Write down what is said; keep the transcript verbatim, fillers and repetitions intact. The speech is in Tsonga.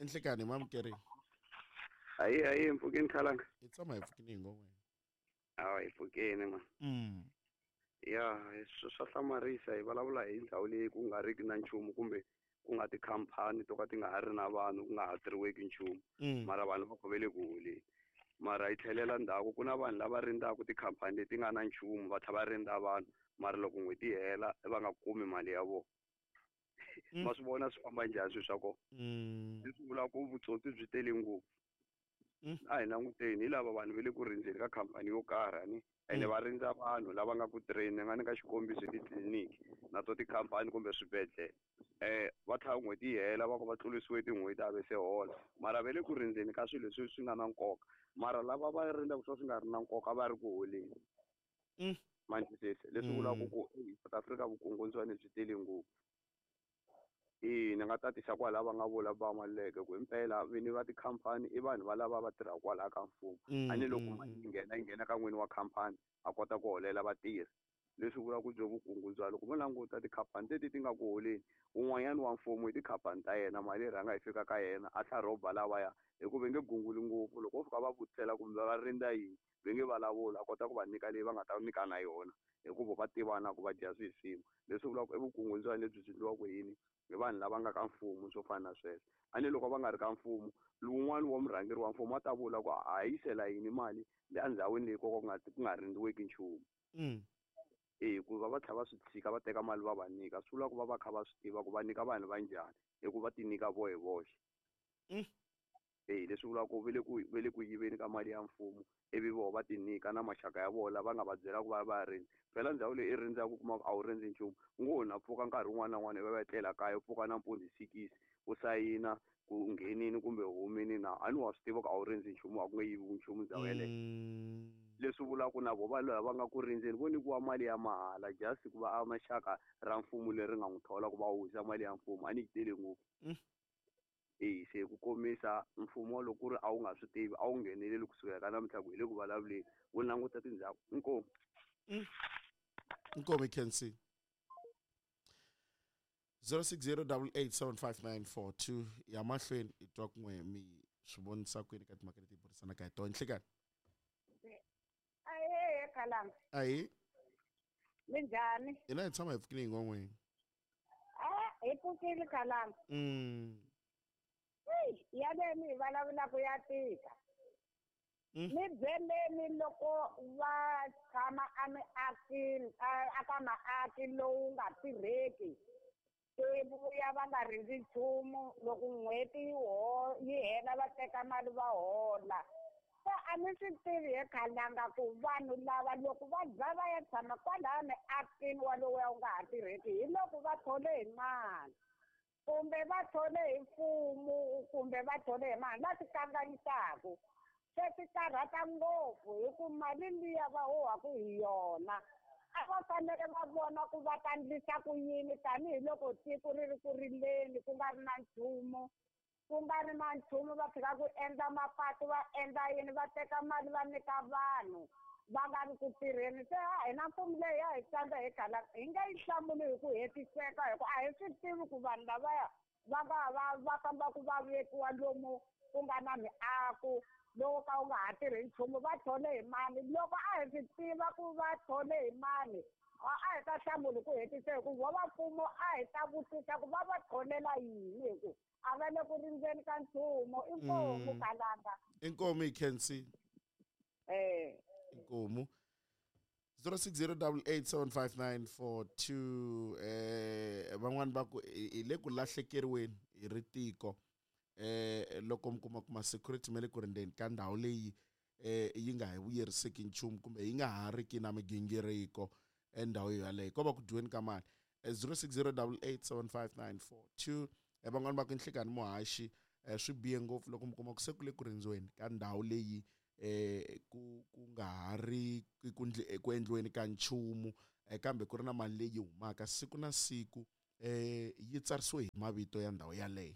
Enhlekani hi mamukerini. Ayi ayi mpfukeni khalanga. Hi tshama hi pfukini hi ngo wena. Awa hi pfukeni ma. Mm. Ya swa hlamarisa hi vulavula hi ndhawu leyi ku nga riki na nchumu kumbe ku nga tikhampani to ka ti nga ha ri na vanhu ku nga ha tirhiweki nchumu. Mara vanhu va khovele ku holeni. Mara hi tlhelela ndzhaku ku na vanhu lava rindzaka tikhampani leti nga na nchumu va tlhela va rindza vanhu mara loko n'hweti yi hela va nga kumi mali ya vona. Ma swi vona swi famba njhani swilo swa kona. Leswi vulaka ku vutsotsi byi tele ngopfu. A hi languteni hi lava vanhu va le ku rindzeni ka khampani yo karhi ani ene va rindza vanhu lava nga ku tirheni ni nga nyika xikombiso titliliniki na to tikhampani kumbe swibedhlele eh va tlhela n'hweti yi hela va ku va tlurisiwe tin'hweti a ve se hola mara va le ku rindzeni ka swilo leswi swi nga na nkoka mara lava va rindzaka swo swi nga ri na nkoka va ri ku holeni. Ma ni twisisa leswi vulaka ku South Africa vukungundzwani byi tele ngopfu. E ni nga tatisa kwala va nga vula va Maluleke ku himpela vini va tikhampani i vanhu va lava va tirhaka kwalaya ka mfumo a ni loko mali yi nghena yi nghena ka n'wini wa khampani a kota ku holela vatirhi leswi vulaka ku byo vukungundzwani loko mo languta tikhampani leti ti nga ku holeni un'wanyana wa mfumo i tikhampani ta yena mali yi rhanga yi fika ka yena a tlha rhoba lavaya hikuva nge gunguli ngopfu loko wo fika va vutisela kumbe va rindza yini va nge vulavula a kota ku va nyika leyi va nga ta nyika na yona hikuva va tivana ku va dya swihi swin'we leswi vulaka i vukungundzwani lebyi byi endliwaka yini hi vanhu lava nga ka mfumo swo fana na sweswo a ni loko va nga ri ka mfumo lowun'wani wa murhangeri wa mfumo a ta vula ku a yisela yini mali le endhawini leyi ko ku nga ku nga rindziweki nchumu. E ku va va tlhela va swi tshika va teka mali va va nyika swi vula ku va va kha va swi tiva ku va nyika vanhu va njhani hikuva va ti nyika vo hi voxe. E leswi vulaka ku ve le ku ve le ku yiveni ka mali ya mfumo ivi voho va ti nyika na maxaka ya vona lava nga va byela ku va va rindza phela ndhawu leyi i rindzaka u kuma ku a wu rindzi nchumu ngo na pfuka nkarhi wun'wana na wun'wana va va etlela kaya u pfuka nampundzu hi sikisi u sayina ku nghenini kumbe humini na a ni wa swi tiva ku a wu rindzi nchumu a ku nge yiviwi nchumu ndhawu yeleyo. Leswi vulaka ku na vo va lava nga ku rindzeni vo nyikiwa mali ya mahala just ku va a maxaka ra mfumo leri nga n'wi thola ku va wisa mali ya mfumo a ni yi tele ngopfu. E se ku komisa mfumo loko ku ri a wu nga swi tivi a wu ngheneleli kusukela ka namuntlha ku hi le ku vulavuleni wu languta tindzhaku inkomu. Inkomu i Khensi. zero six zero double eight seven five nine four two ya mahlweni i twa kun'we mi swi vonisa kwini ka timhaka leti hi burisanaka hi tona. Nhlekani. Ahee Khalanga. Ahee. Minjhani? Hina hi tshama hi pfukile hi ngon'weni. Ah, hi pfukile Khalanga. Mm. Ya le mi vulavulaka ya tika. Mi byeleni loko va tshama a miakini a ka maaki lowu nga tirheki vuya va nga rindzi nchumu loko n'hweti yi ho yi hela va teka mali va hola. Se a ni swi tivi he Khalanga ku vanhu lava loko va za va ya tshama kwalaya miakini walowu wu nga ha tirheki hi loko va thole hi mali kumbe va thole hi mfumo kumbe va thole hi mali va ti kanganyisaka. Se swi karhata ngopfu hi ku mali liya va huhaka hi yona a va fanele va vona ku va ta endlisa ku yini tanihiloko tiko ri ri ku rileni ku nga ri na nchumu ku nga ri na nchumu va fika ku endla mapatu va endla yini va teka mali va nyika vanhu va nga ri ku tirheni. Se a hina mfumo leyi ya hi tsandza hi Khalanga hi nge yi hlamuli hi ku hetiseka hi ku a hi swi tivi ku vanhu lavaya va nga va va fambaka va vekiwa lomu ku nga na miako lowu ka wu nga ha tirhi nchumu va thole hi mali loko a hi swi tiva ku va thole hi mali a hi ta hlamuli ku hetiseka ku vo va mfumo a hi ta vutisa ku va va tholela yini hi ku a va le ku rindzeni ka nchumu. Inkomu Khalanga. Inkomu i Khensi. Eh. Inkomu. zero six zero double eight seven five nine four two eh van'wani va ku hi le ku lahlekeriweni hi ri tiko eh loko mi kuma kuma security ma le ku rindzeni ka ndhawu leyi eh yi nga hi vuyeriseki nchumu kumbe yi nga ha riki na migingiriko endhawu yaleyo ko va ku dyiweni ka mali. zero six zero double eight seven five nine four two van'wani va ku Nhlekani muhaxi swi bihe ngopfu loko mi kuma ku se ku le ku rindziweni ka ndhawu leyi eh ku ku nga ha ri ku ku endliweni ka nchumu kambe ku ri na mali leyi humaka siku na siku eh yi tsarisiwe hi mavito ya ndhawu yaleyo.